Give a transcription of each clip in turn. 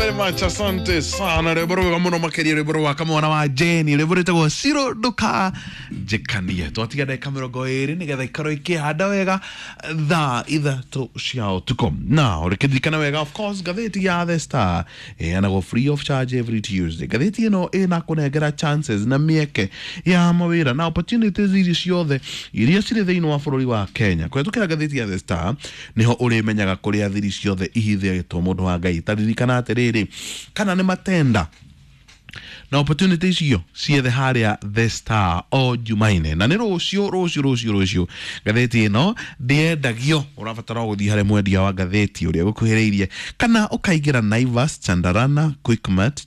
Very much, asante sana. Rwĩmbo rwega mũno makĩria, rwĩmbo rwa kamwana wa Jeni, rwĩmbo rwĩtagwo Ciro Nduka Njĩkanie. Twatiga ndagĩka 20 nĩgetha ikorwo ikĩhanda wega thaa 3 cia ũtukũ. Na ũrĩkĩririkana wega, of course, ngathĩti ya The Star ĩheanagwo free of charge every Tuesday. Ngathĩti ĩno ĩna kũnengera chances na mĩeke ya mawĩra na opportunities iria ciothe iria cirĩ thĩinĩ wa bũrũri wa Kenya. Kũhetũkĩra ngathĩti ya The Star nĩho ũrĩmenyaga kũrĩa thiri ciothe ihithĩtwo, mũndũ wa Ngai. Taririkana atĩrĩrĩ, kana nĩ matenda na opportunity icio ciethe harĩa The Star o Jumaine, na nĩ rũciũ, rũciũ, rũciũ, rũciũ. Ngathĩti ĩno ndĩendagio, ũrabatara o gũthiĩ harĩ mwendia wa ngathĩti ũrĩa gũkuhĩrĩirie, kana ũkaingĩra Naivas, Chandarana, Quickmart,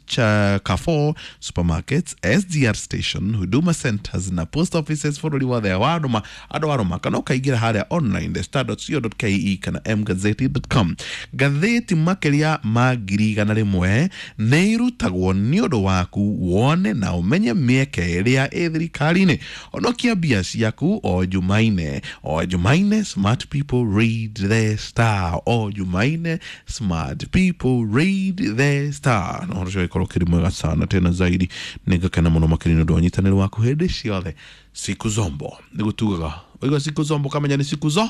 Carrefour supermarkets, SGR station, Huduma centers na post offices bũrũri wothe wa Roma, andũ a Roma, kana ũkaingĩra harĩa online thestar.co.ke kana mgazeti.com. Ngathĩti makĩria ma 100,000 nĩ irutagwo nĩ ũndũ waku wone na ũmenye mĩeke ĩrĩa ĩ thirikari-inĩ. Honokia mbia ciaku o Jumaine, o Jumaine. Smart people read The Star o Jumaine. Smart people read The Star. Na ũhoro ũcio ũgĩkorwo ũkĩrĩ mwega sana tena zaidi. Nĩ ngakena mũno makĩria nĩ ũndũ wa ũnyitanĩri waku hĩndĩ ciothe. Siku zombo nĩguo tugaga, waigua siku zombo kamenya nĩ siku zo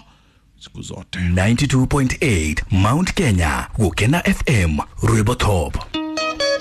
siku zote. 92.8 Mount Kenya, Gukena FM, Rwimbo Top.